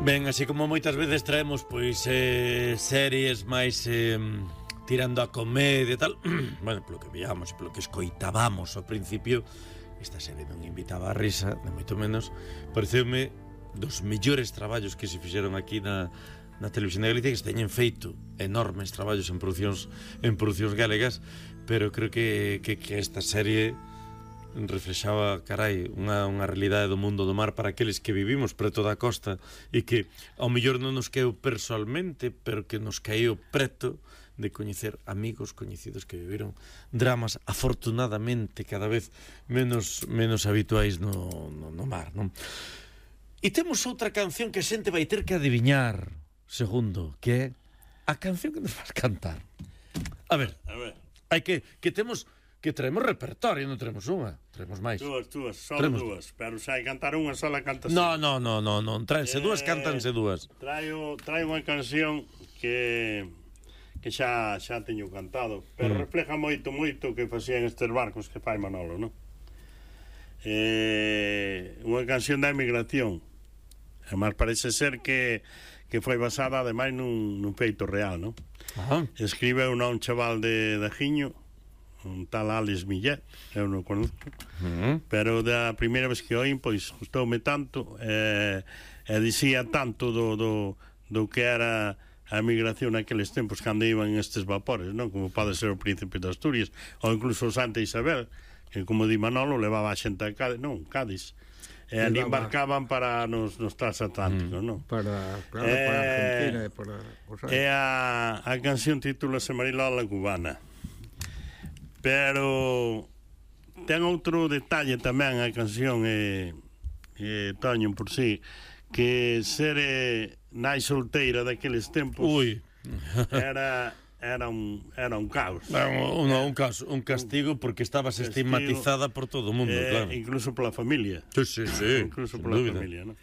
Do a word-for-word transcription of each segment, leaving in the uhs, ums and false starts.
Ben, así como moitas veces traemos pois eh, series máis eh, tirando a comedia e tal, bueno, polo que veíamos, polo que escoitábamos ao principio, esta serie non invitaba a risa, de moito menos. Pareceume dos mellores traballos que se fixeron aquí na, na televisión de Galicia, que se teñen feito enormes traballos en producións en producións galegas, pero creo que, que, que esta serie reflexaba, carai, unha, unha realidade do mundo do mar para aqueles que vivimos preto da costa e que ao mellor non nos caeu personalmente, pero que nos caeu preto de coñecer amigos coñecidos que viviron dramas afortunadamente cada vez menos menos habituais no, no, no mar, non? E temos outra canción que a xente vai ter que adiviñar, segundo, que é a canción que nos vas cantar. A ver, a ver. hai que que temos que traemos repertorio, non traemos unha, traemos máis. Dúas, dúas, só traemos... dúas, pero se hai cantar unha sola cantas. No, no, no, no, non, traense eh, dúas, cántanse dúas. Traio, traio unha canción que que xa xa teño cantado, pero mm. refleja moito, moito que facían estes barcos que fai Manolo, non? Eh, unha canción da emigración. Además parece ser que que foi basada ademais nun, nun feito real, non? Ajá. Escribe unha un chaval de, de Jiño, un tal Alex Millet, eu non conozco, uh-huh. pero da primeira vez que oín, pois, gustoume tanto, e, e dicía tanto do, do, do que era a emigración naqueles tempos cando iban estes vapores, non? Como pode ser o Príncipe de Asturias, ou incluso o Santa Isabel, que, como di Manolo, levaba a xente a Cádiz, non, Cádiz, e ali embarcaban para nos, nos transatlánticos, mm. non? Para, claro, eh, para Argentina e para... E a, a canción titúlase Marilola Cubana. Pero ten outro detalle tamén a canción e, e Toño por si, que ser eh, nai solteira daqueles tempos Ui. era era un era un caos. Un, un, un caos, un castigo porque estabas castigo, estigmatizada por todo o mundo, eh, claro. Incluso pola familia. Sí, sí, sí. Incluso pola dúvida. familia, non?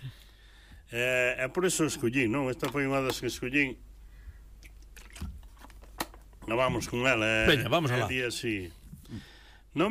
Eh, e por eso escollín, non? Esta foi unha das que escollín. No, vamos con ela, eh. Veña, vamos alá. Día así.